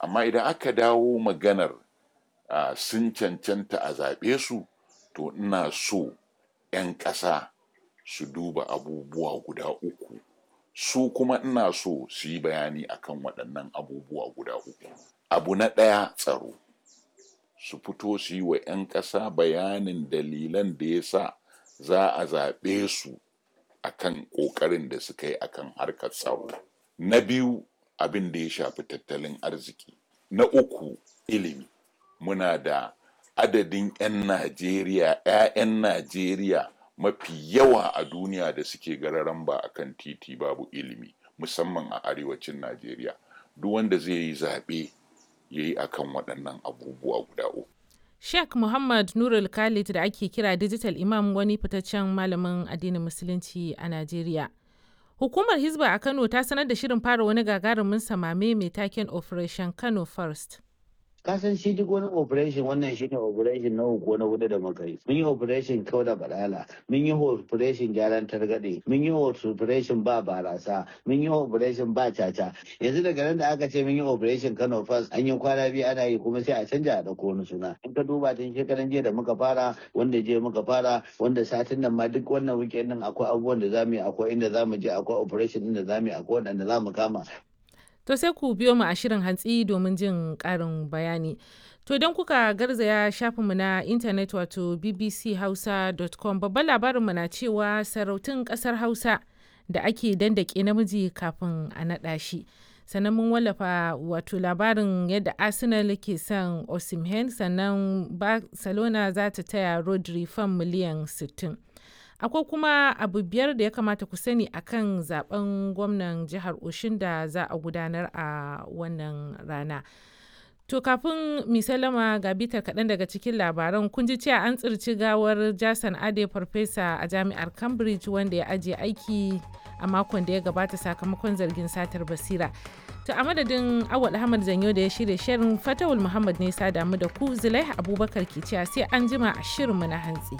Amma idan aka dawo maganar sun cancanta a zaɓe su, to ina so 'yan ƙasa su duba abubuwa guda uku. Su kuma ina so su yi bayani akan waɗannan abubuwa guda uku. Abu na ɗaya, tsaro. Su fito su yi wa 'yan ƙasa bayanin dalilan da ya sa za a zaɓe su akan ƙoƙarin da suka yi akan harkar tsaro. Na biyu, abin da ya shafi tattalin arziki. Na uku, ilimi. Muna da adadin 'yan Najeriya, 'ya'yan Najeriya mafi yawa a duniya da suke gararamba a kan titi babu ilimi, musamman a arewacin Najeriya. Duk wanda zai yi zaɓe ya yi akan waɗannan abubuwa guda uku. Sheikh Muhammad Nurul Khalid da ake kira Digital Imam, wani fitaccen malamin addinin Musulunci a Najeriya. Hukumar Hizba a Kano ta sanar da shirin fara wani gagarumin samame mai taken Operation Kano First. Kasan shi duk wani operation, wannan shine operation na uku, na hudu da muka yi. Mun yi operation kau da balala, mun yi operation gyaran targaɗe, mun yi operation ba barasa, mun yi operation ba caca. Yanzu daga nan da aka ce mun yi Operation Kano First, an yi kwana 2 ana yi, kuma sai a canja a ɗauko wani suna. In ka duba tun shekaran jiya da muka fara, wanda jiya muka fara, wanda satin nan ma, duk wannan weekend din akwai abubuwan da zamu yi, akwai inda zamu je, akwai operation din da zamu yi, akwai waɗanda zamu kama. To sai ku biyo mu a shirin hantsi domin jin ƙarin bayani. To idan kuka garzaya shafinmu na intanet, wato bbchausa.com, babban labarinmu na cewa sarautun ƙasar Hausa da ake dandake namiji kafin a naɗa shi. Sannan mun wallafa wato labarin yadda Arsenal ke son Osimhen, sannan Barcelona za ta taya Rodri fam miliyan 60. Akwai kuma abu biyar da ya kamata ku sani akan zaben gwamnan jihar Oshin da za a gudanar a wannan rana. To kafin mi salama, ga bitar kaɗan daga cikin labaran. Kun ji cewa an tsirci gawar Jason Ade, farfesa a jami'ar Cambridge wanda ya ajiye aiki a makon da ya gabata sakamakon zargin satar basira. To a madadin Awal Ahmad Zanyo da ya shirya shirin, Fatawul Muhammad ne sa damu da ku, Zulaiha Abubakar ke cewa sai an jima a shirinmu na hantsi.